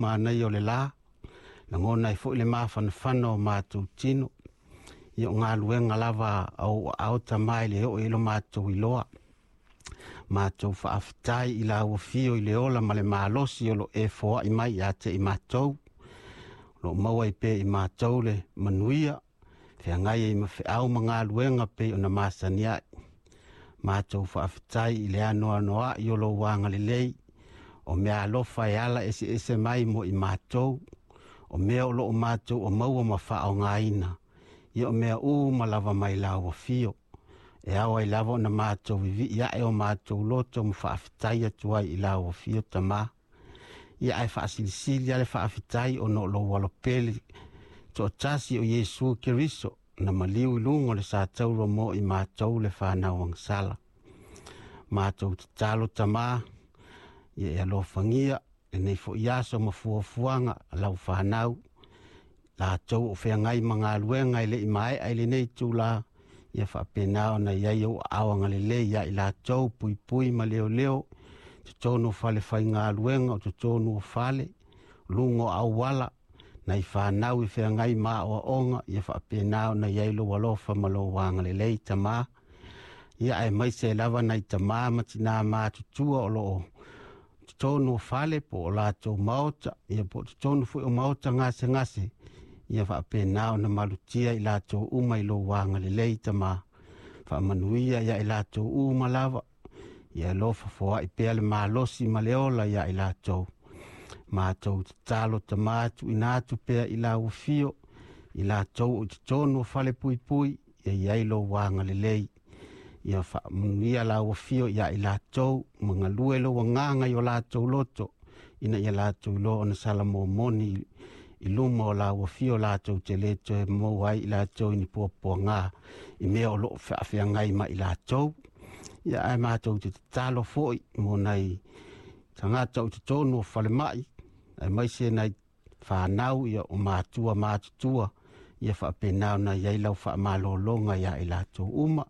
Manaia o le la, lagona ai foi le mafanafana o matou tino. Ia o galuega lava a ou aao Tama e le oo i ai lo matou iloa. Matou faafetai i lau afio i le ola ma le malosi o lo o e foai mai ia te i matou. O lo o maua ai pea i matou le manuia, feagai ai ma feau ma galuega pei ona masani ai. Matou faafetai i le anoanoai o lou agalelei, o mea alofa e ala eseese mai mo i matou, o mea o lo o matou o maua ma faaaogaina, ia o mea uma lava mai lau afio. E ao ai lava ona matou vivii ae o matou loto ma faafetai atu ai i lau afio Tama. Ia ae faasilisili lava le faafetai ona o lou alopele toatasi o Iesu Keriso na maliu i luga o le satauro mo i matou le fanau agasala. Matou tatalo Tama, ia e alofagia lenei foi aso ma fuafuaga a lau fanau, latou o feagai ma galuega e le i maea i lenei itula, ia faapena ona i ai ou aao agalelei ia i latou, puipui ma leoleo, totonu o fale faigaluega, o totonu o fale, luga o auala, nai fanau i feagai ma aoaoga, ia faapena ona i ai lou alofa ma lou agalelei Tama. Ia aemaise lava nai tama ma tina matutua o lo o totonu o fale po o latou maota, ia po o totonu foi o maota gasegase, ia faapena ona malutia i latou uma i lou agalelei Tama. Faamanuia ia i latou uma lava, ia alofa foai pea le malosi ma le ola ia i latou. Matou tatalo Tama, tuuina atu pea i lau afio, i latou o i totonu o fale puipui, ia i ai lou agalelei. Ia faamanuia lau afio ia i latou, ma galue lou agaga i o latou loto, ina ia latou iloa ona salamomoni i luma o lau afio latou te le toe maua ai i latou i ni puapuaga i mea o lo o faafeagai ma i latou. Ia ae matou te tatalo foi mo nai tagata o totonu o falemai, aemaise nai fanau ia o matua matutua, ia faapena ona i ai lau faamalologa ia i latou uma.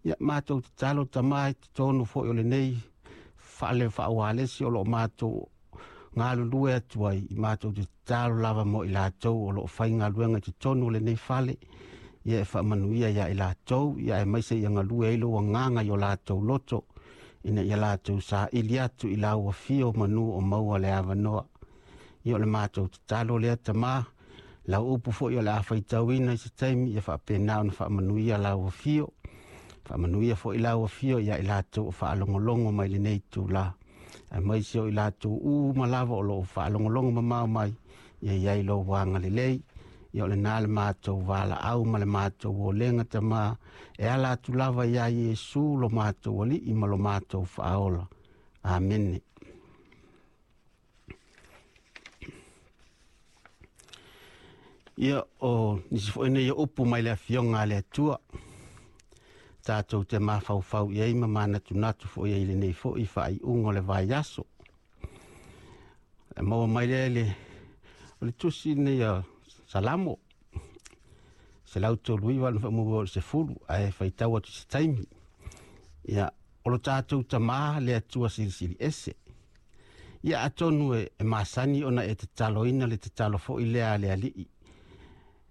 Ia matou tatalo Tama i totonu foi o lenei fale faaualesi o lo o matou galulue atu ai, i matou te tatalo lava mo i latou o lo o faigaluega i totonu o lenei fale, ia e faamanuia ia i latou, ia aemaise ia galue ai lou agaga i o latou loto, ina ia latou saili atu i lau afio manu o maua le avanoa. Ia o le matou tatalo lea Tama, lau upu foi o le a faitauina i se taimi, ia faapena ona faamanuia lau afio. Faamanuia foi lau afio ia i latou o faalogologo mai lenei itula, aemaise o i latou uma lava o lo o faalogologo mamao mai, ia i ai lou agalelei. Ia o lena le matou valaau ma le matou olega Tama, e ala atu lava ia Iesu lo matou alii ma lo matou faaola. Amene. Ia o nisi foi nei o upu mai le afioga a le Atua, tatou te mafaufau i ai ma manatunatu foi ai i lenei foi faaiuga o le vaiaso. E maua mai lea le, o le tusi lenei a Salamo, 139 na faamua o le 10, ae faitau atu se taimi. Ia, o lo tatou Tama le Atua silisili ese. Ia atonu e masani ona e tataloina le tatalo foi lea a le alii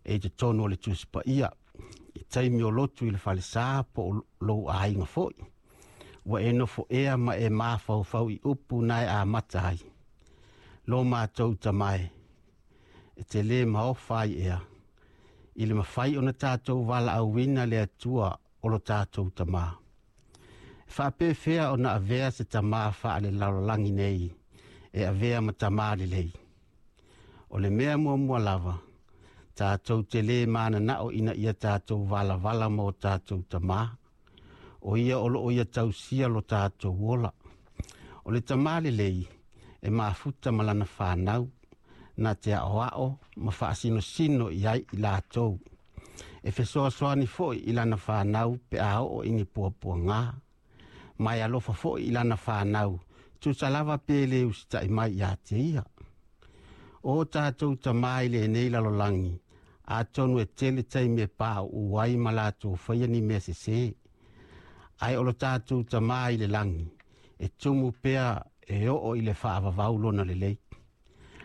e i totonu o le Tusi Paia, i taimi o lotu i le falesa po o lou aiga foi. Ua e nofo ea ma e mafaufau i upu na e amata ai. Lo matou Tama e, e te lē maofa ai ea, i le mafai ona tatou valaauina le Atua o lo tatou Tama. E faapefea ona avea se tama faalelalolagi nei e avea ma tama lelei. O le mea muamua lava, tatou te lē mananao ina ia tatou valavala ma o tatou tama, o ia o lo o ia tausia lo tatou ola. O le tama lelei e mafuta ma lana fanau, na te aoao ma faasinosino i ai i latou. E fesoasoani foi i lana fanau pe a oo i ni puapuaga, ma e alofa foi i lana fanau, tusa lava pe le usitai mai ia te ia. O tatou tama i lenei lalolagi, atonu e tele taimi e pauu ai ma latou faia ni mea sesē, ae o lo tatou Tama i le lagi, e tumu pea e oo i le faavavau lona lelei.